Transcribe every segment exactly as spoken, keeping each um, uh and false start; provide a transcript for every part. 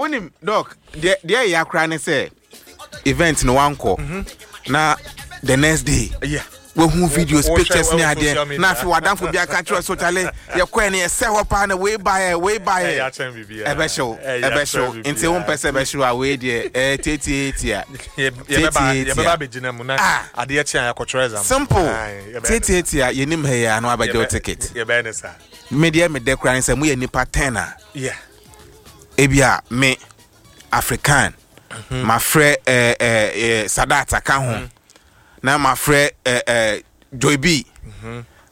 Wonim, Doc, deɛ deɛ ɛyɛ akora ne sɛ event no wankɔ na the next day Yeah. wohu videos, Wo- pictures ne wo- adeɛ social media. na afei wadamfo bi aka kyerɛ so, "Chale, yɛkɔɛ ne yɛsɛ hɔ paa na wei baeɛ, wei Ɛyɛ baeɛ." akyɛn biribiara. Ɛbɛhyew. Ɛyɛ Ɛbɛhyew. akyɛn Nti wompɛ sɛ ɛbɛhyew a, wei deɛ ɛɛ tietietia. Yɛ- yɛbɛba yɛbɛba abɛgyina mu na Ah. adeɛ kye a, yɛakɔtwerɛ exam. Simple. Aye, yɛbɛyɛ ne saa. Tietietia, yɛnim ha yi a na wabɛgye wo Yɛbɛ- ticket. Yɛbɛyɛ ne saa. Me deɛ, medɛ koraa ne sɛ moyɛ nipa ten a, Yeah. ebia me African mafrɛ ɛɛ ɛɛ ɛɛ Sadat aka ho na mafrɛ ɛɛ ɛɛ Joy B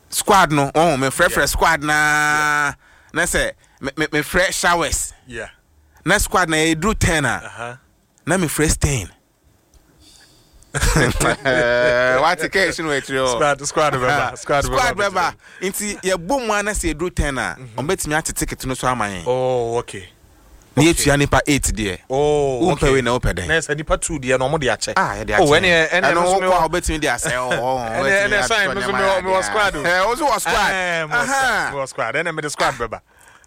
squad no wɔn mefrɛfrɛ squad naa na sɛ me me mefrɛ Showers Yeah. na squad na yɛduru ten a, Uh-huh. na mefrɛ Stain wate kɛɛsi no akyire hɔ. Squad squad bɛba. Squad bɛba. Squad bɛba, nti yɛbɔ mu a na sɛ yɛduru ten a, ɔmbɛtumi ate ticket no so ama yɛn Oh, okay. na yɛtua nipa eight deɛ. Oh, Wompɛ okay. wei na wopɛ dɛn? Na sɛ nipa two deɛ no, ɔmo de akyɛ. Ah, yɛde akyɛ. Oh, ɛne ɛne ɛno ɛno nso wokɔ a, wobɛtumi de asɛ hɔ. Ɛne ɛne sign me nso mewɔ mewɔ squad o. Wo nso wɔ squad. Eh, mewɔ Aha. squad, mewɔ squad. Ɛne mede squad bɛba.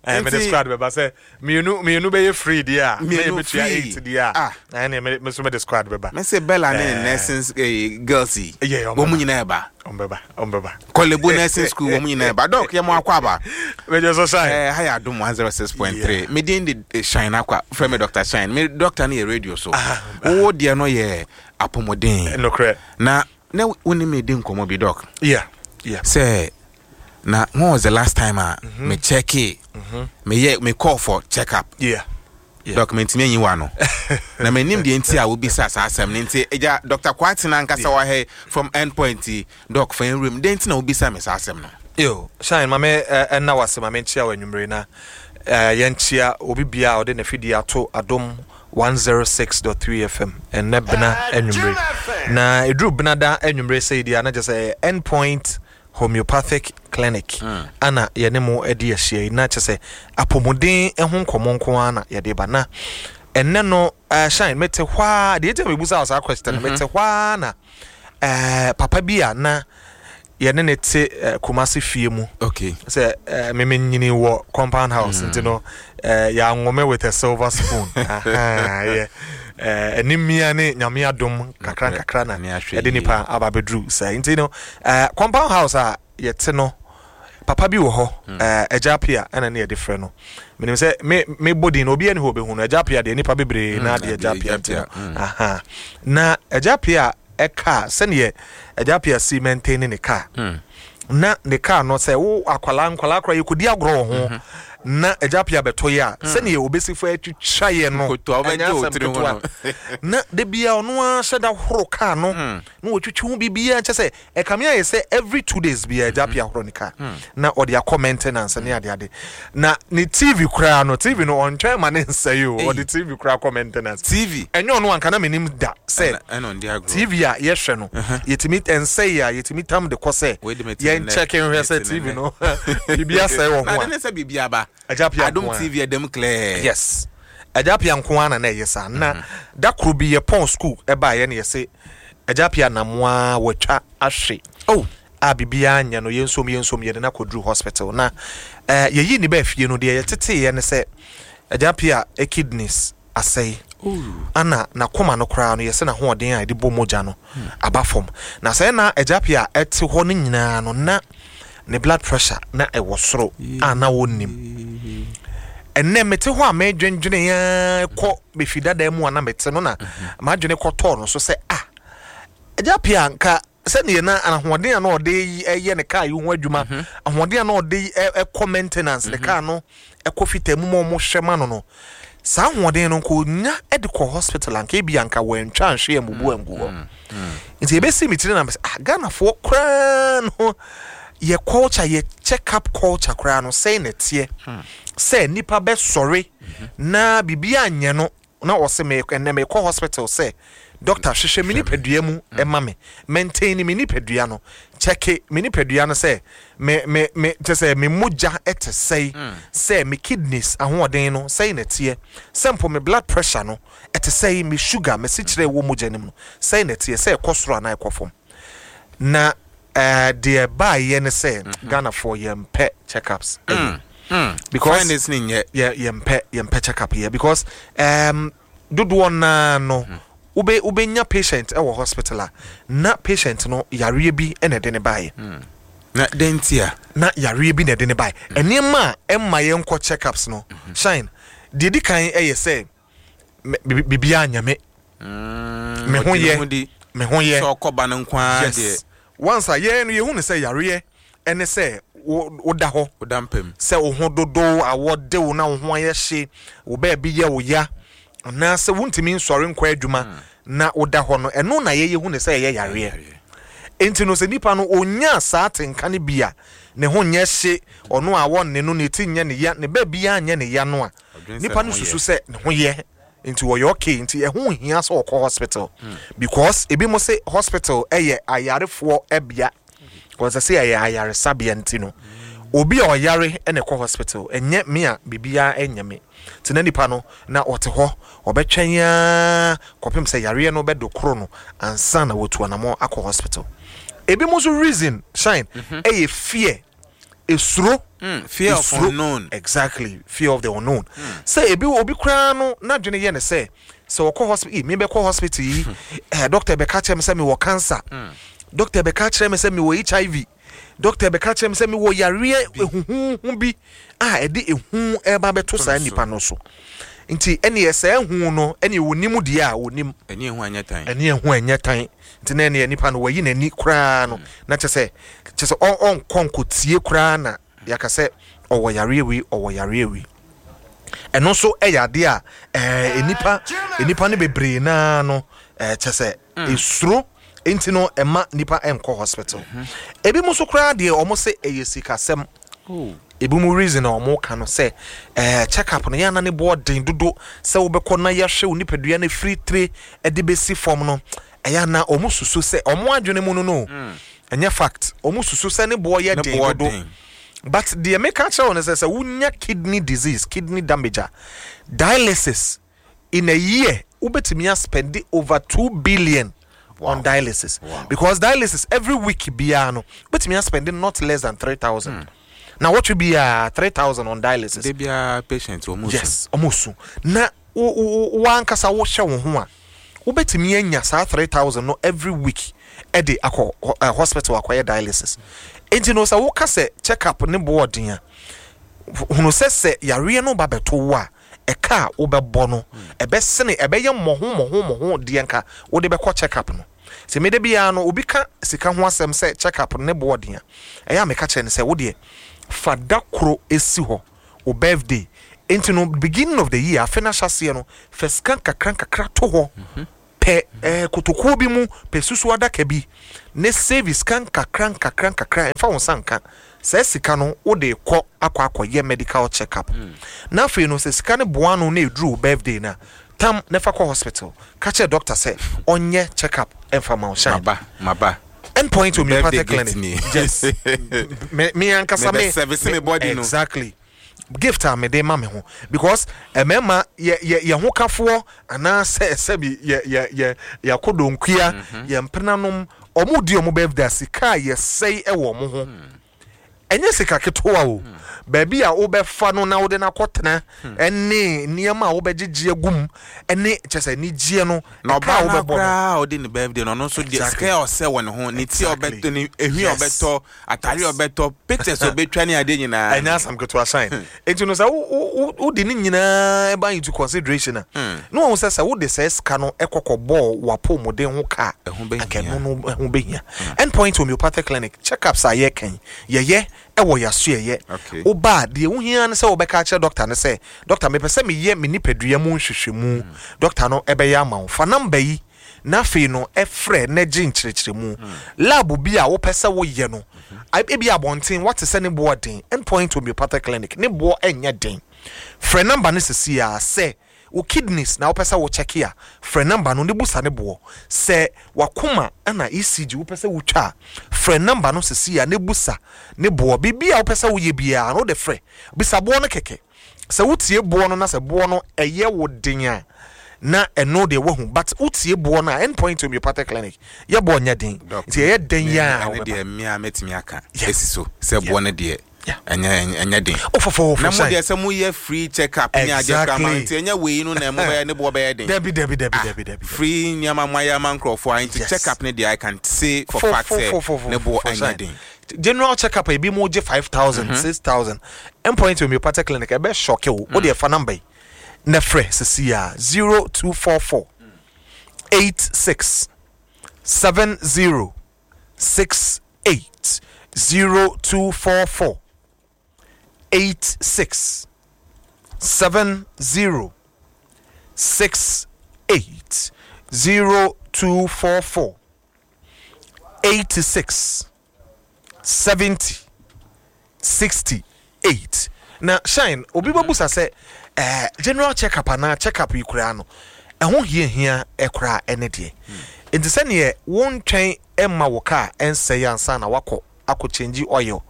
Eh, mede Nti- squad bɛba sɛ mmienu mmienu bɛyɛ free deɛ a, na Mmienu yɛbɛtua free. eight deɛ a. Ah. Ɛne me me nso mede squad bɛba. Mɛsɛ Bella ne Eh. nursing eh, girls yi, Yeah, ɔmo wɔn mu ba. nyinaa ɛba. Ɔmbɛba, ɔmbɛba. Korle Bu Nursing School, wɔn mu nyinaa ɛba. Doc, yɛ mo akɔ aba. Mɛgye so, Shine. Eh, ha yɛ Adom one oh six point three. Me din de eh, Shine Akwa. Frɛ me Doctor Shine. Me doctor no yɛ radio so, wowɔ deɛ no yɛ apɔmɔden. Nokorɛ. Na na wo ne me di nkɔmmɔ bi, Doc, Yeah. Yeah. sɛ na when was the last time a me check, me yɛ me call for check up? Yeah. Yeah. Doc, mentumi anyi wa no na menim deɛ nti a wobisa saa asɛm no. Nti agya Doctor Kwatena ankasa wɔ ha yi from Endpoint yi. Doc, fa nwuram deɛ nti na wobisa me saa asɛm no. Yo, Shine, mame ɛna wase, mame nkyia wɔ anwummere na eh, yɛnkyia obi bia a ɔde n'afidie ato Adom one oh six point three F M ɛnɛ bena anwummere. Na ɛduru bena da anwummere sɛ yi deɛ a, na kyerɛ sɛ ɛyɛ Endpoint Homeopathic Clinic ana yɛne mo adi ahyia yi, na kyerɛ sɛ apɔmuden ho nkɔmmɔ nko ara na yɛde ba. Na ɛnɛ no, uh, Shine, mete hɔ a, deɛ ɛti a mebusa wo saa question no, mete hɔ a na uh, papa bi a na yɛne ne te uh, Kumase fie mu okay sɛ uh, meme nyini wɔ compound house mm. nti no uh, yɛanwome with a silver spoon. Aha, yɛ uh, animia ne Nyame adom kakra Nokorɛ. nkakra na Ne ahwɛ ɛde yie. nipa aba bɛduru saa. Nti no, uh, compound house a yɛte no, papa bi wɔ hɔ, uh, Agya Pia ɛna ne yɛde frɛ no. Menim sɛ me mebɔ din no, obi ani hɔ ɔbɛhu no. Agya Pia deɛ, nipa bebree na adeɛ Agya Pia nti no Pia, mm. aha. Na Agya Pia ɛka sɛneɛ Agya Pia si maintain ne car na ne car no, sɛ wo akwalaa nkwalaa koraa yɛkɔdi agorɔ wɔ ho na Agya Pia bɛtɔ yi a, sɛneɛ obɛsi fo atwitwa yɛ no, Koto a wobɛgye ɛnyɛ wo asɛm tiri ho ketewa. no. Na da bia ɔno ara hyɛ da horo car no na wɔtwitwi ho biribiara, kyɛ sɛ ɛkame ayɛ sɛ every two days bia Agya Pia horo ne car na ɔde akɔ maintenance ne adeade. Na ne T V koraa no, T V no ɔntwɛn ma ne nsɛe o, ɔde T V koraa kɔ maintenance. T V. Ɛnyɛ ɔno anka na menim da sɛ ɛna ɛna ɔnde agorɔ. T V a yɛhwɛ no, yɛtumi ɛnsɛe a, yɛtumi tam de kɔ sɛ Wei de mete yɛn ne nnɛ. check nhwɛ sɛ Mete ne T V nnɛ. no biribi asɛe wɔ Na ho ade ne a. sɛ biribi aba. Agya Pia Adom nko ara. T V ɛdɛm clear. Yes, Agya Pia nko ara na na ɛyɛ saa. Na da koro bi yɛpɔn school ɛbaeɛ no, yɛse Agya Pia namoa wɔatwa ahwe Oh. a biribiara nyɛ no. Yɛnsom yɛnsom yɛde no akɔduru hospital na eh, yɛyi ne baa fie no deɛ, yɛteteeɛ ne sɛ Agya Pia eh, kidneys asɛe ana n'akoma no koraa no, yɛsɛ n'ahoɔden a yɛde bɔ mogya no aba fam. Na sɛ na Agya Pia ɛte hɔ no nyinaa no, na ne blood pressure na ɛwɔ soro a na wɔnnim. Ɛnɛ mete hɔ a, medwendwene a kɔ mefi dada mu a na mete no na madwene kɔtɔɔ no so sɛ, ah, Agya Pia nka sɛdeɛ na ahoɔden a na ɔde yi- ɛyɛ ne kaa yi ho adwuma, ahoɔden a na ɔde yi ɛ- ɛkɔ maintenance ne kaa no, ɛkɔ fitaa mu ma ɔmo hwɛ ma no no saa ahoɔden no nka onya de kɔ hospital anka ebi anka wɔntwa nhwe amubu angu hɔ. Nti ebesi mi tiri na mɛ sɛ, ah, Ghanafoɔ koraa no, yɛ culture, yɛ check up culture koraa no, sɛn na ɛteɛ sɛ nipa bɛsɔre na biribi anyɛ no na ɔsɛ me ɛnɛ mekɔ hospital sɛ doctor hwehwɛ me nipadua mu ɛma me, maintain me nipadua no, check me nipadua no sɛ me me me kyɛ sɛ me mogya ɛte sɛe, sɛ me kidneys ahoɔden no sɛe na ɛteɛ, sɛ mpo me blood pressure no ɛte sɛe, me sugar, me sikyerɛ ɛwɔ mogya no mu no sɛe na ɛteɛ, sɛ ɛkɔ soro anaa ɛkɔ fam. Na ɛɛ deɛ baayɛ ne sɛ Ghanafoɔ yɛmpɛ check-ups ɛyɛ. Because findings ni nyɛ. Yɛ yɛmpɛ yɛmpɛ check up yɛ because um, dodoɔ naa no, wobe wobɛnya patient ɛwɔ hospital a, na patient no yareɛ bi ɛna ɛde ne baeɛ. Na den ti a? Na yareɛ bi na ɛde ne baeɛ. Nneɛma a ɛmma yɛnkɔ check ups no, Shine, deɛ di kan ɛyɛ sɛ me- bibi- biribiara nyɛ me, me ho yɛ, me ho yɛ. Sɛ ɔkɔba no nko ara deɛ. Yes, once a yɛn no yɛhu ne sɛ yareɛ ɛne sɛ wo woda hɔ, woda mpam, sɛ wo ho dodo awɔ de wo na wo ho ayɛ hye, wo baabi yɛ wo ya, anaasɛ wontumi nsɔre nkɔ adwuma na woda hɔ no, ɛno na yɛyɛ hu ne sɛ ɛyɛ yareɛ. Nti no, sɛ nipa no onya saa tenka no bi a, ne ho nyɛ hye, ɔno a wɔne no ne ti nyɛ ne ya, ne baabi a nyɛ ne ya no a, ɔdwen sɛ nipa no ne ho susu yɛ. Sɛ ne ho yɛ nti wɔyɛ okay, nti ɛho hia sɛ ɔkɔ hospital, because ebi mo sɛ hospital ɛyɛ ayarefoɔ ɛbea, wɔsɛ sɛ ɛyɛ ayaresabea. Nti no, obi a ɔyare ɛna ɛkɔ hospital, ɛnyɛ me a biribiara ɛnyɛ me. Nti na nipa no na ɔte hɔ, ɔbɛtwɛn aa kɔpem sɛ yareɛ no bɛdo koro no ansa na wɔtu anammɔ akɔ hospital. Ebi mo nso reason, Shine, ɛyɛ fear, esuro. Mm, fear of Esuro. unknown. Exactly, fear of the unknown, sɛ ebi obi koraa no n'adwene yɛ ne sɛ sɛ ɔkɔ hospital yi, mi bɛkɔ hospital yi, ɛɛ doctor bɛka kyerɛ mi sɛ mi wɔ cancer, doctor bɛka kyerɛ mi sɛ mi wɔ H I V, doctor bɛka kyerɛ mi sɛ mi wɔ yareɛ ehuhuhu bi a ɛde ehu ɛba bɛto saa no so. Nipa no so. Nti ɛne ɛsɛ ehu no, ɛne onim deɛ a onim. Ɛne ehu anyɛ tan. Ɛne ɛho ɛnyɛ tan. Nti na ɛneɛ nipa no wayi n'ani koraa no, na kyɛ sɛ kyɛ sɛ ɔn ɔnkɔ nkɔtie koraa na yɛaka sɛ ɔwɔ yareɛ wei, ɔwɔ yareɛ wei. Ɛno nso ɛyɛ adeɛ a ɛɛ nipa nipa no bebree naa no, ɛɛ kyɛ sɛ esuro nti no ɛma nipa ɛnkɔ hospital. Ebi mo nso koraa deɛ, ɔmo sɛ ɛyɛ sikasɛm. Oh. Ebi mu reason a ɔmo ka no sɛ ɛɛ check up no yɛn ana ne boɔ den dodo, sɛ wobɛkɔ na yɛahwɛ wo nipadua no firi tire ɛde bɛsi fam no, ɛyɛ ana ɔmo susu sɛ ɔmo adwene mu no no ɛnyɛ fact, ɔmo susu sɛ ne boɔ yɛ Ne den boɔ dodo. den. But deɛ meka kyerɛ wo no sɛ sɛ wonya kidney disease, kidney damage a, dialysis in a year, wobɛtumi aspend over two billion Wow. on dialysis. Wow. Because dialysis every week biara no, wobɛtumi aspend not less than three thousand na wɔtwe biara three thousand on dialysis. De biara patient wɔ mu so. Yes, ɔmo su na wo wo wo ankasa wohyɛ wo ho a, wobɛtumi anya saa three thousand no every week ɛde akɔ hɔ- eh, hospital akɔyɛ dialysis. Enti no, sɛ woka sɛ check up ne boɔ den a, hunu sɛ sɛ yareɛ no ba bɛto wo a, ɛka a wobɛbɔ no ɛbɛsene, ɛbɛyɛ mmɔho mmɔho mmɔho deɛ nka wode bɛkɔ check up no. Sɛ mede biara no, obi ka sika ho asɛm sɛ check up no ne boɔ den a, ɛyɛ a meka kyerɛ no sɛ wodeɛ fa da koro esi hɔ, wo birthday. Nti no, beginning of the year, afe no ahyɛseɛ no, fa sika nkakra nkakra to hɔ, pɛ ɛɛ kotokuo bi mu, pɛ susu adaka bi ne save sika nkakra nkakra nkakra, ɛmfa wo nsa nka saa sika no, wode kɔ akɔ akɔyɛ medical check up. Na afei no, sɛ sika no boa no na ɛduru wo birthday no a, tam na fa kɔ hospital, ka kyerɛ doctor sɛ ɔnyɛ check up ɛmfa ma wo, Shine. Maba, maba. Endpoint Homeopathic Birthday gift Clinic. ni. Yes, me me ankasa me Me service me body no. Exactly, gift a mede ma me ho, because mmarima yɛ yɛ yɛ ho kafoɔ anaasɛ sɛbi yɛ yɛ yɛ yɛakodonkua, yɛ mpenanom, ɔmo di ɔmo birthday a, sika a yɛsɛe ɛwɔ ɔmo ho ɛnyɛ sika ketewa o. Baabi a wobɛfa no na wode no akɔtena ɛne nneɛma a wobɛgyegye agu mu ɛne kyɛ sɛ anigyeɛ no, Na ɛka a ɔbaa no wobɛbɔ no koraa a ɔde ne birthday no, ɔno nso deɛ, Exactly. sika a ɔsɛ wɔ ne ho, ne ti a Exactly. ɔbɛtɔ, ne ehwi a Yes. ɔbɛtɔ, atare a ɔbɛtɔ, pictures a ɔbɛtwa ne adeɛ nyinaa. Ɛnyɛ asɛm ketewa, Shine. Enti no, sɛ wo- wo- wo- wode ne nyinaa ɛba into consideration a, na wahu sɛ sɛ wode sɛ sika no ɛkɔkɔbɔɔ w'apɔmuden ho ka a, Ɛho bɛhia. anka ɛno no ɛho bɛhia. Endpoint Homeopathic Clinic, checkups a yɛkɛn yɛyɛ ɛwɔ yɛaso yɛyɛ. Okay. Woba a, deɛ wohia ne sɛ wobɛka kyerɛ doctor no sɛ, "Doctor, mepɛ sɛ meyɛ me nipadua mu nhwehwɛmu." Doctor no ɛbɛyɛ ama wo. Fa number yi na afei no ɛfrɛ na gye nkyerɛkyerɛmu. Lab bi a wopɛ sɛ woyɛ no, a- ebi abɔnten wate sɛ ne boɔ den, Endpoint Homeopathic Clinic ne boɔ ɛnyɛ den. Frɛ number no sisi a, sɛ wo kidneys na wopɛ sɛ wo check a, frɛ number no ne busa ne boɔ. Sɛ wakoma ɛna E C G wopɛ sɛ wotwa a, frɛ number no sisi a ne busa ne boɔ. Biribi a wopɛ sɛ woyɛ biara no, wode frɛ bisa boɔ no kɛkɛ. Sɛ wotie boɔ no na sɛ boɔ no ɛyɛ wo den a, na ɛno deɛ wahu. But wotie boɔ no a, Endpoint Homeopathic Clinic yɛ boɔ nyɛ den. Doc, nti ɛyɛ den me- yɛ a ɛne wobɛba. deɛ mmea mɛtumi aka Yeah. esi so sɛ boɔ no deɛ Ɛnyɛ ɛnyɛ den. Ofofofo. Na mo deɛ, sɛ moyɛ free check up ne adeɛ kora ma, nti ɛnyɛ wei no na ɛmo bɛyɛ ne boɔ bɛyɛ den. Dabi, dabi, dabi, dabi, dabi. Free nneɛma mo ayɛ ama nkurɔfoɔ a, nti Yes. check up ne deɛ, I can say for fact sɛ ne boɔ ɛnyɛ den. General check up, ebi mo gye five thousand, six thousand. Endpoint Homeopathic Clinic, ɛbɛ shock wo. Wo deɛ, fa number yi na frɛ sisi a: zero two four four eight six seven zero six eight, zero two four four eight six seven zero six eight, zero two four four eighty-six seventy sixty-eight. Na Shine, obi bɛbusa sɛ eh, general check up anaa check up yi koraa no, ɛho hia hia ɛkoraa ɛne deɛ nti sɛneɛ wontwɛn ɛma wo kaa ɛnsɛe ansa na wakɔ akɔ change oil,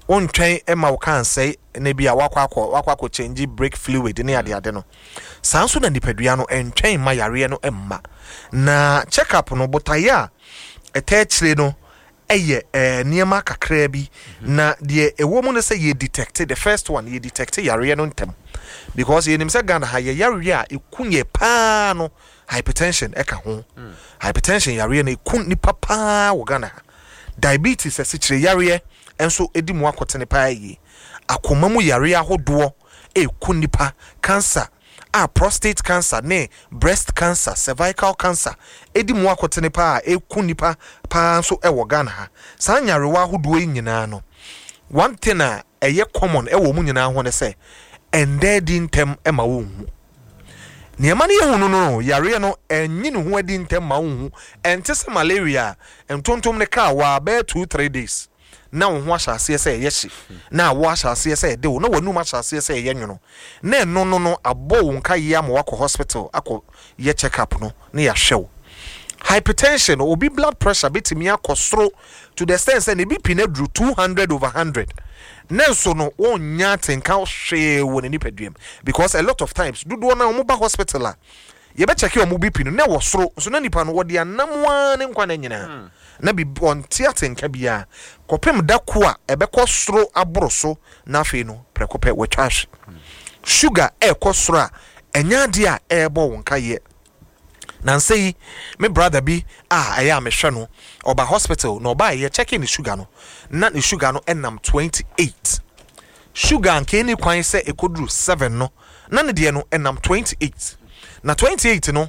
wontwɛn ɛma wo kaa nsɛe na bi a wakɔ akɔ wakɔ akɔ change brake fluid ne adeade no, saa nso na nipadua no ɛntwɛn ma yareɛ no ɛmma. Na check up no, botaeɛ a ɛtɛ akyire no ɛyɛ ɛɛ nneɛma kakraa bi. Na deɛ ɛwɔ mu no sɛ yɛ detect, the first one, yɛ detect yareɛ no ntɛm, because yɛnim sɛ Ghana ha yɛ yareɛ a ɛku yɛ paa no, hypertension ɛka ho. Hypertension yareɛ no ɛku nipa paa wɔ Ghana ha. Diabetes, asikyire yareɛ nso ɛdi mu akɔtene paa yie. Akoma mu yareɛ ahodoɔ ɛku nipa. Cancer a, prostate cancer ne breast cancer, cervical cancer ɛdi mu akɔtene paa a ɛku nipa paa nso ɛwɔ Ghana ha. Saa nyarewa ahodoɔ yi nyinaa no, one thing a ɛyɛ common ɛwɔ mu nyinaa ho ne sɛ ɛndɛ di ntɛm ɛma wɔnhu nneɛma no. Yɛhu no no yareɛ no ɛnyi ne ho adi ntɛm ma wohu. Ɛnte sɛ malaria a ntontom ne kaa waa bɛyɛ two three days na wo ho ahyɛ aseɛ sɛ ɛyɛ hye, na awɔ ahyɛ aseɛ sɛ ɛde wo, na w'anum ahyɛ aseɛ sɛ ɛyɛ nwono, na ɛno no no abɔ wo nka yie ama wakɔ hospital akɔ yɛ check up no na yɛahwɛ wo. Hypertension, obi blood pressure bɛtumi akɔ soro to the extent sɛ ne B P no aduru two hundred over hundred, ne nso no wɔnnya atenka hwee wɔ ne nipadua mu, because a lot of times dodoɔ no a wɔn ba hospital a yɛbɛkyɛke wɔn B P no na ɛwɔ soro nso, na nipa no wɔde anamoa ne nkwa no nyinaa na bibi ɔnte atenka biara kɔpem da ko a ɛbɛkɔ soro aboro so, na afei no prɛko pɛ wɔatwa ahwe. Sugar ɛɛkɔ soro a, ɛnyɛ adeɛ a ɛɛbɔ wɔn ka yɛ. Nansa yi me brother bi a ɛyɛ a mehwɛ no, ɔba hospital na ɔba yɛ checking ne sugar no, na ne sugar no ɛnam twenty-eight. Sugar nka ɛni kwan sɛ ɛkɔduru seven no, na ne deɛ no ɛnam twenty-eight. Na twenty-eight no,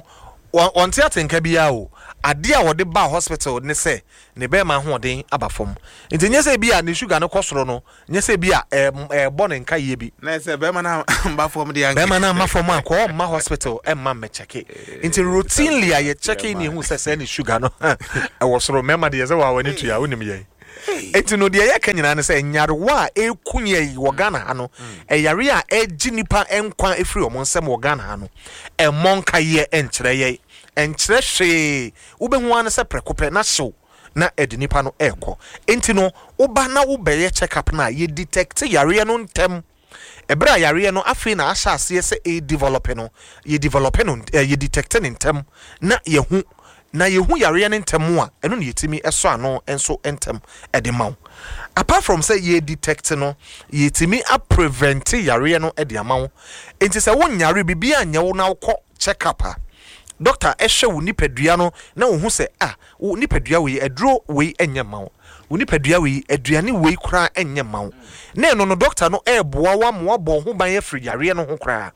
ɔnte atenka biara o. Adeɛ a wɔde ba hospital ne sɛ ne bɛrima ahoɔden aba fam, nti nyɛ sɛ bi a ne sugar no kɔ soro no, nyɛ sɛ bi a ɛɛbɔ ne nka yie bi. Na sɛ bɛrima no amba fam deɛ anka bɛrima no amma fam a, kɔ ɔmma hospital ɛmma mmɛkyɛke. Nti routinely a yɛkyɛke ne ehu sɛ sɛ ne sugar no ɛwɔ soro. Mmarima deɛ, sɛ wɔn ani tua, wonim yɛn. Nti no deɛ yɛka nyinaa ne sɛ nyarewa a ɛku yɛ yi wɔ Ghana ha no, ɛyare a ɛgye nipa nkwa ɛfiri wɔn nsam wɔ Ghana ha no, ɛmmɔ nka yɛ, ɛnkyerɛ yɛ, ɛnkyerɛ hwee. Wobɛhu ara ne sɛ prɛko pɛ na hyew na ɛde nipa no ɛrekɔ. Nti no woba na wobɛyɛ check up no a, yɛ detect yareɛ no ntɛm. Ɛberɛ a yareɛ no afei na ahyɛ aseɛ sɛ ɛyɛ develop no, yɛ develop no, ɛ yɛ detect ne ntɛm na yɛhu na yɛhu yareɛ no ntɛm a, ɛno na yɛtumi ɛsɔ ano nso ntɛm ɛde ma wo. Apart from sɛ yɛ detect no, yɛtumi aprevent yareɛ no ɛde ama wo. Nti sɛ wonyare biribi anyɛ wo na wokɔ check up a, doctor ɛhwɛ wo nipadua no na wohu sɛ, ah, wo nipadua wei, aduro wei ɛnyɛ ma wo, wo nipadua wei, aduane wei koraa ɛnyɛ ma wo, na ɛno no doctor no ɛɛboa wo ama wabɔ ho ban afiri yareɛ no ho koraa.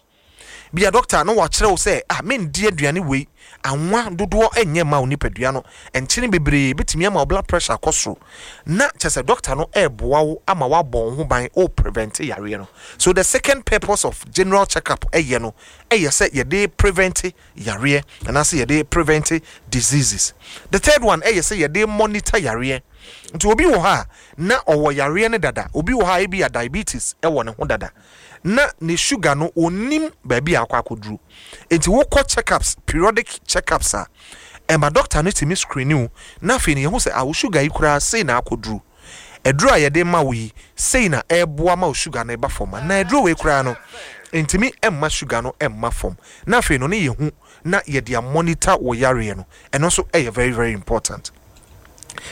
Bia doctor no wakyerɛ wo sɛ, ah, mendi aduane wei, anwa dodoɔ ɛnyɛ ma wo nipadua no, nkyene bebree bɛtumi ama wo blood pressure akɔ soro, na kyerɛ sɛ doctor no ɛɛboa wo ama wabɔ wo ho ban, o prevent yareɛ no. So the second purpose of general checkup ɛyɛ no ɛyɛ sɛ yɛde prevent yareɛ anaasɛ yɛde prevent diseases. The third one ɛyɛ sɛ yɛde monitor yareɛ. Nti obi wɔ hɔ a na ɔwɔ yareɛ no dada, obi wɔ hɔ a ebi a diabetes ɛwɔ ne ho dada, na ne sugar no onim baabi a akɔ akɔduru. Nti wokɔ checkups, periodic checkups a, ɛma doctor no tumi screen wo, na afei no yɛhu sɛ ah, wo sugar yi koraa sei na akɔduru, aduro a yɛde ma wo yi sei na ɛreboa ma wo sugar no ɛba fam, na aduro wei koraa no ntumi mma sugar no mma fam, na afei no ne yɛhu na yɛde amonitor wɔ yareɛ no. Ɛno nso ɛyɛ very very important.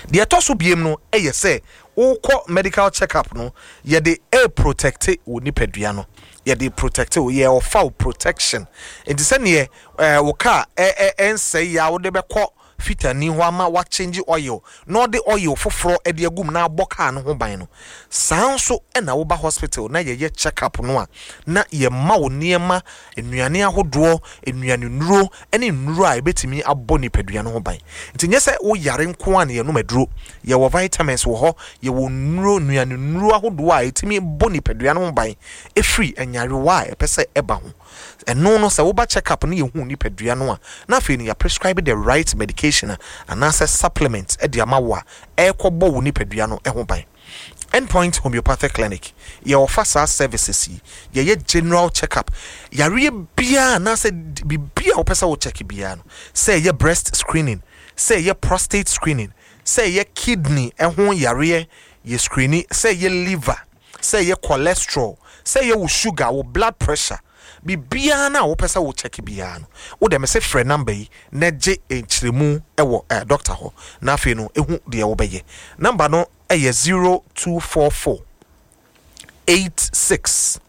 Deɛ ɛtɔ so biem no ɛyɛ sɛ Wokɔ medical check-up no, yɛde air protect wo nipadua no, yɛde protect wo, yɛ ɔfa wo protection. Nti sɛneɛ ɛɛ wo car ɛ ɛ ɛnsɛe yɛ a, wode bɛkɔ fitani hɔ ama wachange oil na ɔde oil foforɔ de agum na abɔ car no ho ban no, saa nso ɛna woba hospital na yɛyɛ check up no a, na yɛma wo nneɛma, nnuane ahodoɔ, nnuane nnuro ne nnuro a ɛbɛtumi abɔ nipadua no ho ban. Nti nyɛ sɛ woyare nko a na yɛnom aduro. Yɛwɔ vitamins wɔ hɔ, yɛwɔ nnuro, nnuane nnuro ahodoɔ a ɛtumi bɔ nipadua no ho ban ɛfiri nyarewa a ɛpɛ sɛ ɛba ho. Ɛno no, sɛ woba check up no, yɛhu nipadua no a, na afei no yɛprescribe the right medication a anaasɛ supplement de ama wo a ɛrekɔbɔ wo nipadua no ho ban. Endpoint Homeopathic Clinic, yɛwɔfa saa services yi. Yɛyɛ general check up, yareɛ biara anaasɛ biribi a wopɛ sɛ wo check biara no, sɛ ɛyɛ breast screening, sɛ ɛyɛ prostate screening, sɛ ɛyɛ kidney ɛho yareɛ yɛ screening, sɛ ɛyɛ liver, sɛ ɛyɛ cholesterol, sɛ ɛyɛ wo sugar, wo blood pressure, biribiara no a wopɛ sɛ wo check biara no, wode me sɛ frɛ number yi na gye nkyerɛmu ɛwɔ eh, doctor hɔ, na afei no ɛhu deɛ wobɛyɛ. Number no ɛyɛ zero two four four eight six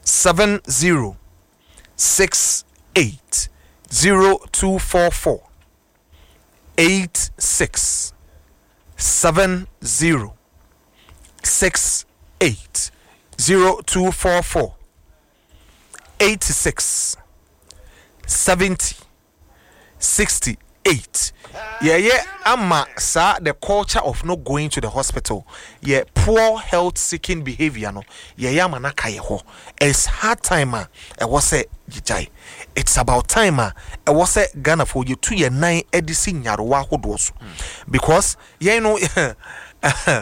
seven zero six eight, zero two four four eight six seven zero six eight, zero two four four eighty-six seventy sixty-eight. Yɛyɛ ama saa the culture of not going to the hospital, yɛ poor health seeking behaviour no, yɛyɛ ama n'aka yɛ hɔ. It's hard time a ɛwɔ sɛ yɛgyae. It's about time a ɛwɔ sɛ Ghanafoɔ yɛtu yɛn nan de si nyarewa ahodoɔ so, because yɛn no,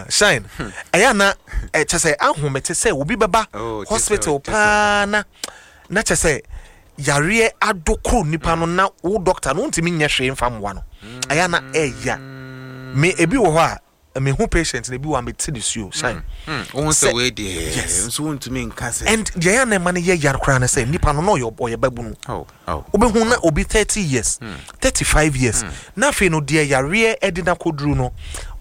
shine ɛyɛ ana ɛkyɛ sɛ ahomete sɛ obi bɛba Oh, hospital kyɛ sɛ- paa na na kyɛ sɛ yareɛ adokoro nipa no, na wo doctor no wontumi nyɛ hwee mfa mmoa no. Ɛyɛ ana ɛɛya me. Ebi wɔ hɔ a mehu patient na ebi wɔ a mete ne suo, shine. Wohu sɛ Sɛ- wei deɛ Yes. nso wontumi nka sɛ And deɛ ɛyɛ ana ɛma no yɛ yare koraa ne sɛ nipa no na ɔyɛ ɔyɛ babunu. oh, oh. Wobɛhu na obi thirty years, thirty-five years, na afei no deɛ yareɛ ɛde no akɔduru no,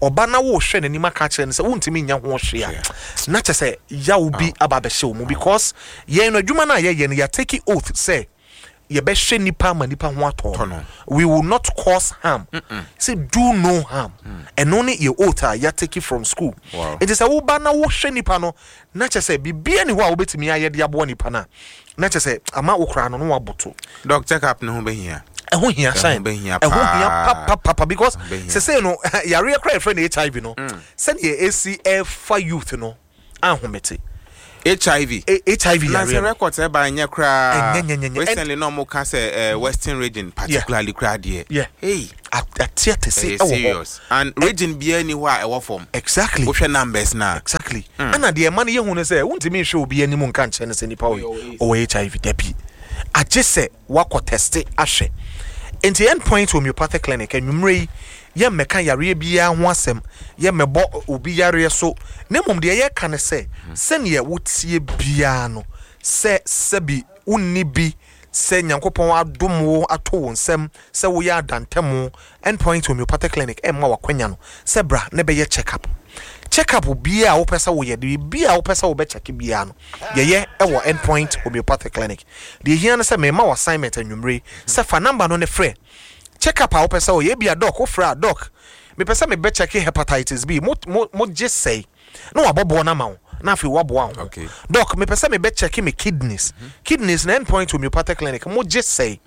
ɔba na wohwɛ n'anim aka kyerɛ no sɛ wontumi nya ho hwee a, na kyɛ sɛ yaw bi aba abɛhyɛ wo mu, because yɛn no, adwuma no a yɛyɛ no, yɛatake oath sɛ yɛbɛhwɛ nipa ama nipa ho atɔ Tɔ no. We will not cause harm, sɛ do no harm. Ɛno ne yɛ oath a yɛatake from school. Wow. Nti sɛ woba na wohwɛ nipa no na kyɛ sɛ biribia ni hɔ a wobɛtumi ayɛ de aboa nipa no a, na kyɛ sɛ ama wo koraa no na waboto. Doc, check up ne ho bɛhia. Ɛho hia, shine. Bɛhia Ɛho hia paa. papapapa, because bɛhia. sesei no yareɛ koraa yɛfrɛ no H I V no, sɛdeɛ ɛsi ɛfa youth no ahomete. H I V. A- H I V Na sɛ yareɛ no record sɛ ɛba nyɛ koraa. Ɛnyɛ, nyɛ, nyɛ, nyɛ. Recently na ɔmo ka sɛ eh, Western Region particularly koraa deɛ, Yeah. hey, At- ate ate se ɛyɛ ɛwɔ hɔ. serious, and region biara ni hɔ a ɛwɔ fam. Exactly wohwɛ numbers na Exactly. Ɛna deɛ ɛma no yɛhu no sɛ wontumi nhwɛ obi anim nka nkyerɛ no sɛ nipa wɔ ɔwɔ H I V dabi, agye sɛ woakɔ test ahwɛ. Nti Endpoint Homeopathic Clinic, anwummerɛ yi yɛmmɛka yareɛ biara ho asɛm, yɛmmɛbɔ obi yareɛ so, na mmom deɛ yɛka ne sɛ sɛneɛ wotie biara no, sɛ sɛbi wonni bi, sɛ Nyankopɔn adom wo ato wo nsɛm sɛ woyɛ adantamu, Endpoint Homeopathic Clinic ɛmma wakwanya no sɛ bra ne bɛyɛ check up. Check up biara a wopɛ sɛ woyɛ de biara a wopɛ sɛ wobɛkyɛke biara no, yɛyɛ ɛwɔ Endpoint Homeopathic Clinic. Deɛ hia no sɛ mema wɔ assignment anwummere sɛ fa number no ne frɛ. Check up a wopɛ sɛ woyɛ ebia, doc, wofrɛ a, doc, mepɛ sɛ mebɛkyɛke hepatitis B, mo mo mo gye sɛe na wabɔboɔ no ama wo, na afei waboa wo ho. Okay. Doc, mepɛ sɛ mebɛkyɛke me kidneys. Kidneys na Endpoint Homeopathic Clinic mo gye sɛe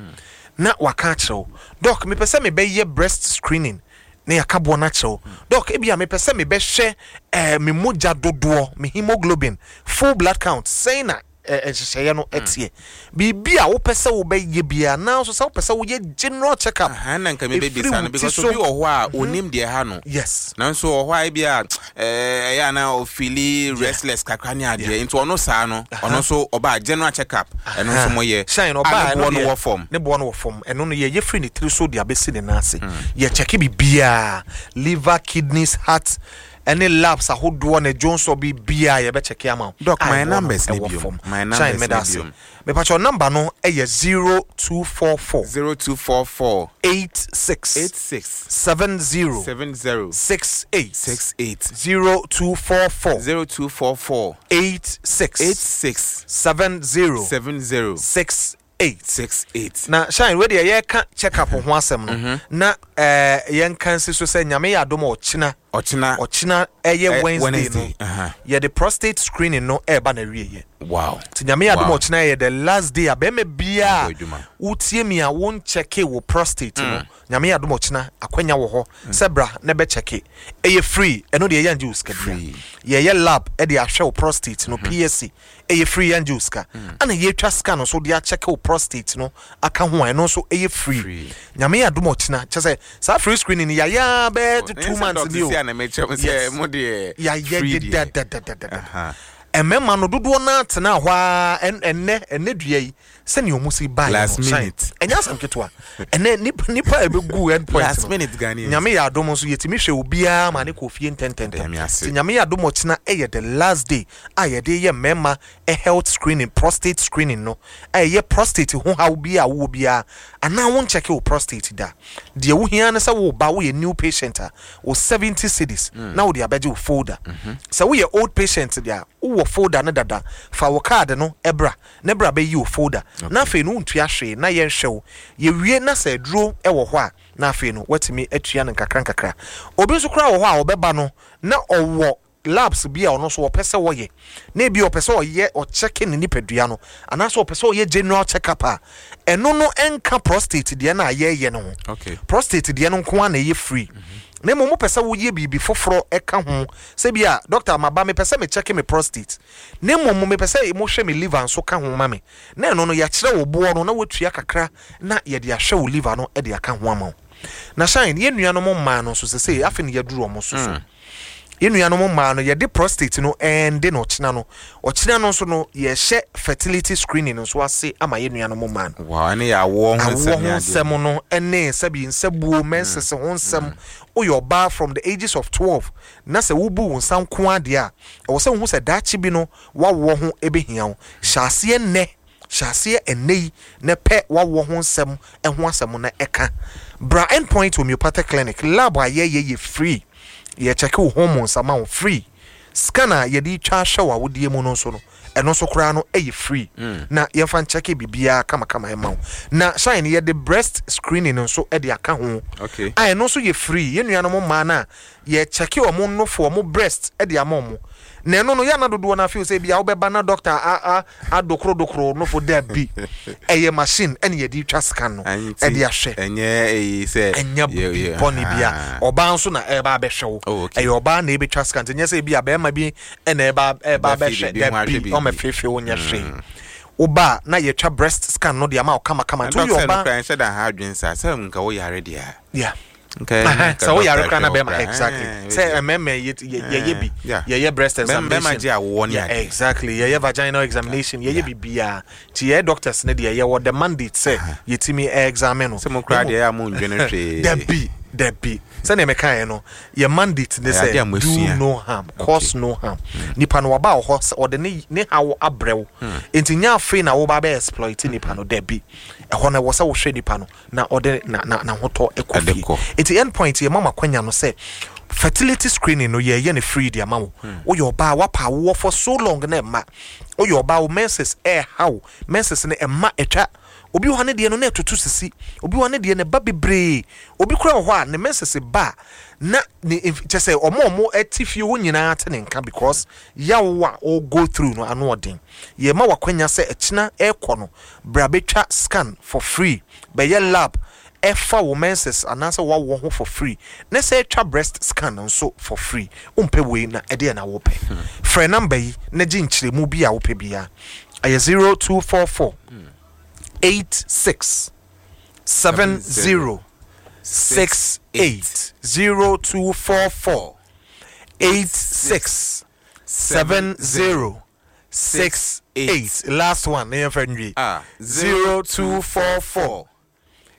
na waka akyerɛ wo. Doc, mepɛ sɛ mebɛyɛ breast screening, na yɛaka boɔ no akyerɛ wo. Doc, ebia mepɛ sɛ mebɛhwɛ eh, me mogya dodoɔ, me hemoglobin, full blood count, sɛn na eh, nhyehyɛeɛ no ɛteɛ. Biribi a wopɛ sɛ wobɛyɛ biara, naa nso sɛ wopɛ sɛ woyɛ general check up Aha na nka ɛfiri mebɛbisa wo no ti because so. Obi wɔ hɔ a onim deɛ ha no, yes nanso wɔ hɔ a ebi a ɛɛ, ɛyɛ ana ɔfeel restless kakra ne adeɛ, nti ɔno saa no, ɔno nso ɔbaa general check up, ɛno nso mo yɛ shine a ɔbaa ne boɔ ɛno no deɛ, wɔ fam. Ne boɔ no wɔ fam. Ɛno no yɛyɛ firi ne tiri so de abɛsi ne nan ase. Yɛkyɛke biribiaa, liver, kidneys, heart, Ɛne labs ahodoɔ ne dwonsɔ bi bia yɛbɛkyɛke ama wo. Doc, A my ɛwɔ no, numbers ne ɛwɔ biom. fam. My numbers Shine, ne meda ase. biom. Mepakyɛw, number no ɛyɛ zero two four four zero two four four eight six eight six seven zero seven zero six eight. six eight. zero two four four zero two four four eight six eight six seven zero seven zero six eight. six eight. Na Shine, wei deɛ yɛka check up ho asɛm no na eh, yɛnka nsi so sɛ Nyame yɛ adom a, ɔkyena, ɔkyena, ɔkyena ɛyɛ Eh, Wednesday Wednesday, no, uh-huh. yɛde prostate screening no ɛɛba na wieyɛ. Wow nti Nyame yɛ adom a, Wow. ɔkyena yɛ the last day a bɛrima biaa Nkɔ adwuma. wotie mi a wonkyɛke wo prostate no, Nyame yɛ adom a, ɔkyena akwanya wɔ hɔ sɛ bra na bɛkyɛke. Ɛyɛ free. Ɛno deɛ yɛngye wo sika bia. Free. Yɛyɛ lab ɛde ahwɛ wo prostate no, P S A, ɛyɛ free, yɛngye wo sika. Ana yɛtwa scan no so de akyɛke wo prostate no aka ho a, ɛno nso ɛyɛ free. Free. Nyame yɛ adom a, ɔkyena kyɛ sɛ saa free screening no yɛayɛ bɛɛ two months ni o. Yes. Yes. Mo deɛ Yɛayɛ free deɛ. dedadadadada. Aha. Mmarima no dodoɔ no atena hɔ a ɛn- ɛnnɛ ɛnnɛ dua yi sɛnea ɔmo si baeɛ Last no, Shine, minute. ɛnyɛ asɛm ketewa. Ɛnɛ nipa nipa a ɛbɛgu end point Last no, minute Ghanaians. Nyame yɛ adom nso yɛtumi hwɛ obiara ma ne kɔ fie ntɛntɛntɛm. Nyame ase. Nti Nyame yɛ adom, ɔkyena ɛyɛ the last day a yɛde yɛ mmarima ɛ health screening, prostate screening no, a ɛyɛ prostate ho haw bi a wowɔ biara anaa wonkyɛke wo prostate da. Deɛ wohia ne sɛ woba, woyɛ new patient a, wo seventy cedis na wode abɛgye wo folder. Sɛ woyɛ old patient deɛ a, wowɔ folder no dada, fa wo card no ɛbra na bra bɛyi wo folder, na afei no wontua hwee na yɛnhwɛ wo. Yɛwie na sɛ aduro ɛwɔ hɔ a, na afei no watumi atua no nkakra nkakra. Obi nso koraa wɔ hɔ a ɔbɛba no na ɔwɔ labs bi a ɔno nso ɔpɛ sɛ wɔyɛ, na ebi ɔpɛ sɛ ɔyɛ ɔkyɛke ne nipadua no anaasɛ ɔpɛ sɛ ɔyɛ general check up a, ɛno no ɛnka prostate deɛ no a yɛyɛ no ho. Okay. Prostate deɛ no nko ara na ɛyɛ free, na mmom mopɛ sɛ woyɛ biribi foforɔ ɛka ho, sɛ bi a, doctor, maba, mepɛ sɛ mekyɛke me prostate, na mmom mepɛ sɛ mohwɛ me liver nso ka ho ma me, na ɛno no yɛakyerɛ wo boɔ no na woatua kakra na yɛde ahwɛ wo liver no de aka ho ama wo. Na Shine, yɛn nuanom mmaa no nso sɛ afei no yɛduru ɔmo so so yɛn nuanom mmaa no, yɛde prostate no ɛnde no ɔkyena no ɔkyena no nso no yɛhyɛ fertility screening nso ase ama yɛn nuanom mmaa no. Wow, ɛne yɛ awoɔ ho awoɔ nsɛm ho ne adeɛ. Nsɛm no ɛne sɛbi nsɛbuo, menses ho nsɛm. Woyɛ ɔbaa from the ages of twelve na sɛ wobu wo nsa nko adeɛ a, ɛwɔ sɛ wohu sɛ daakye bi no woawoɔ ho ɛbɛhia wo. Hyɛ aseɛ nnɛ, hyɛ aseɛ ɛnnɛ yi na pɛ woawoɔ ho nsɛm ɛho asɛm no ɛka. Bra Endpoint Homeopathic Clinic. Lab a yɛyɛ yɛ free. Yɛkyɛke wo hormones ama wo free. Scan a yɛde twa ahyɛ wɔ awodeɛ mu no nso no, ɛno nso koraa no ɛyɛ free na yɛmfa nkyɛke biribiara kamakama ɛma wo. Na Shine, yɛde breast screening nso ɛde aka ho Okay. a ɛno nso yɛ free. Yɛn nuanom mmaa no a yɛkyɛke ɔmo nofo, ɔmo breast ɛde ama ɔmo, na ɛno no yɛana dodoɔ no afei sɛ bia wobɛba na doctor a a adokorodokoro nofo da bi, ɛyɛ machine ɛne yɛde twa scan no Ɛnti, ɛde ahwɛ. Ɛnyɛ eyi sɛ ɛnyɛ yɛ- yɛ- bɔne bia. ah. Ɔbaa nso na ɛba abɛhwɛ wo. Oh, okay. Ɛyɛ ɔbaa na ɛbɛtwa scan, nti nyɛ sɛ bi a bɛrima bi ɛna ɛba ɛba Bɛfi abɛhwɛ biribi ho ahwɛ dabi. biribi. Ɔmɛfeefe wo nyɛ hwee. Woba a na yɛtwa breast scan no de ama wo kamakama. Nti Na woyɛ doctor no ɔbaa koraa nhyɛ da ha adwene saa sɛ nka woyare deɛ a yeah. nka Aha, nka sɛ woyare doctor koraa na hwɛ wo bɛrima koraa. exactly Eh, sɛ mmarima yɛ- yɛ- yɛyɛ bi, Yeah. yɛyɛ breast Bɛrima- examination. Bɛrima gye awoɔ ne Yeah, adeɛ. exactly, yɛyɛ vaginal examination, yɛyɛ Yeah. biribiaa. Nti yɛyɛ doctors no deɛ, yɛwɔ the mandate sɛ yɛtumi examine no. Sɛ mo koraa deɛ ɛyɛ a mondwene hwee. Dabi, dabi, sɛnea mekaeɛ no, yɛ mandate ne Ɛyɛ adeɛ a sɛ moasua. do no harm, cause no harm. Nipa no waba wɔ hɔ sɛ ɔde ne ne haw abrɛ wo, nti nyɛ afei na woba bɛ exploit nipa no. Dabi, ɛhɔ no ɛwɔ sɛ wohwɛ nipa no na ɔde na na n'ahotɔ ɛkɔ Ɛde fie. kɔ. Nti end point, yɛ mama kwanya no sɛ fertility screening no yɛyɛ no free de ama wo. Woyɛ ɔbaa wapa awoɔ for so long na ɛma woyɛ ɔbaa wo menses ɛɛha wo, menses no ɛma ɛtwa. Obi wɔ hɔ ne deɛ no na ɛtoto sisi, obi wɔ hɔ ne deɛ no ɛba bebree, obi kora wɔ hɔ a ne menses ba a na ne kyɛ sɛ ɔmo a ɔmo ɛte fie hɔ nyinaa te ne nka because yaw a ɔ go through no ano ɔden. Yɛma wakwanya sɛ ɛkyina ɛrekɔ no, bra bɛtwa scan for free, bɛyɛ lab ɛfa wo menses anaasɛ wawɔ ho for free, na sɛ ɛtwa breast scan nso for free. Wompɛ wei na ɛdeɛ na wopɛ? Frɛ number yi na gye nkyerɛmu bi a wopɛ biara. Ɛyɛ zero two four four eight six seven zero six eight, zero two four four eight six seven zero six eight. Last one na yɛmfa nwie. Ah, zero two four four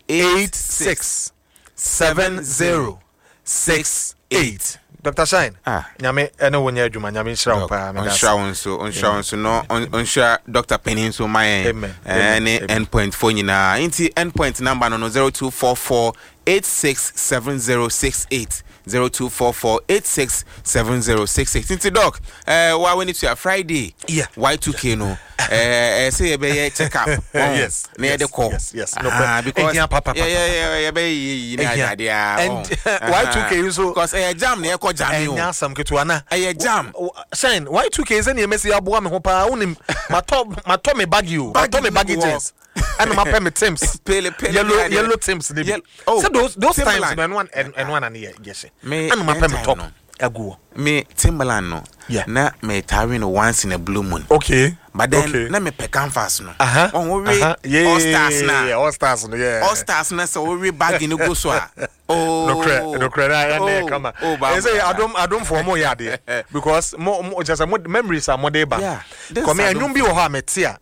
eight six seven zero six eight. Doctor Shine. Ah. Nyame ɛne wo nyɛ adwuma. Nyame nhyira wo paa, meda ase. Ɔnhyira wo nso, ɔnhyira wo nso no, ɔn- ɔnhyira Doctor Penny nso ma yɛn. Amen. Ɛɛ, Amen. ne Amen. Endpoint fo nyinaa. Nti Endpoint number no no zero two four four eight six seven zero six eight, zero two four four eight six seven zero six eight. Nti Doc, ɛɛ wa wani tua Friday Yeah. Y two K no, ɛɛ ɛsɛ yɛbɛyɛ check up. Wɔn, Yes, na yɛde yes, kɔ. yes, yes. Ah, Nokorɛ. because Ehia papa, papa, yɛ yɛ yɛ yɛbɛyɛ yie yi na Ehia. adeɛ a And Y two K nso because ɛyɛ jam na yɛkɔ jam yi o. Ɛnyɛ asɛm ketewa na Ɛyɛ jam. Shine, Y two K sɛ nneɛma si aboa me ho paa. Wonim, matɔ matɔ me baggy o, matɔ me baggy gu hɔ. jeans, ɛna mapɛ me Tims. Pele pele. Yellow ne adeɛ. yellow Tims ne bi. Yel- oh, sɛ those those times Timberland. no, ɛno an- ɛno ana ne yɛ yɛhyɛ Me, ɛna mapɛ that me time top no. agu hɔ. Me Timberland no, Yeah. na me tare no once in a blue moon. Okay but then okay. na me pɛ canvas no. Aha, Ɔn wo aha. Yeah, All Stars na yeah, All Stars no, yeah. All Stars na sɛ wo baggy no go so a, oh. Nokorɛ, nokorɛ, na ɛna Oh, kama. oh, ba ɛsɛ adom adomfoɔ mo yɛ adeɛ because mo mo kyerɛ sɛ mo memories a mo de ba. Yeah, this kɔmi adom- ɛnwom bi wɔ hɔ a mete a,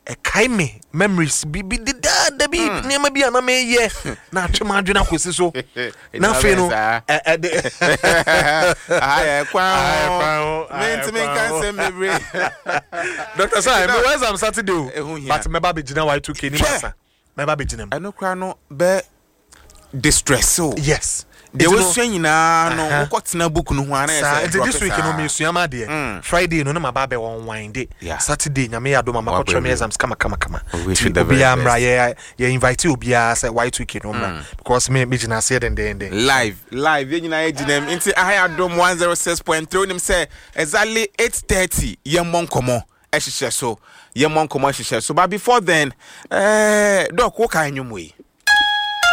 ɛkae me memories bi bi dedaada bi, nneɛma bi a na meyɛ na atwe m adwene akɔsi so na afei no Saa. ɛ- ɛde Ayɛ kwan Ayɛ kwan ho. ho, ayɛ Mentumi kwan nka ho. nsɛm bebree. Doctor Sai, mewɔ exam Saturday o, Ɛho hia. but mɛba bɛgyina Y two K ni Hwɛ. masa mɛba bɛgyina mu. Ɛno koraa no bɛ distress o. Yes. Deɛ Nti no- wosua nyinaa no, Aha. wokɔtena book no ho a na yɛ saa sɛ nti drop this week saa. no mesua ma adeɛ. Friday no na maba abɛ wɔn wine Yeah. Saturday, Nyame yɛ adom a, makɔtwerɛ me Wabɔ exams kama kama kama. We wish Nti you the very obiara mmra. best. Yɛ yɛ invite obiara sɛ Y two K no mmra because me megyina aseɛ dendenden. Live live, yɛn nyinaa yɛ gyina mu. Nti aha yɛ Adom one oh six point three. Wonim sɛ exactly eight thirty yɛmmɔ nkɔmmɔ ɛhyehyɛ so, yɛmmɔ nkɔmmɔ ɛhyehyɛ so. But before then, ɛɛ Doc, wo ka nnwom wei.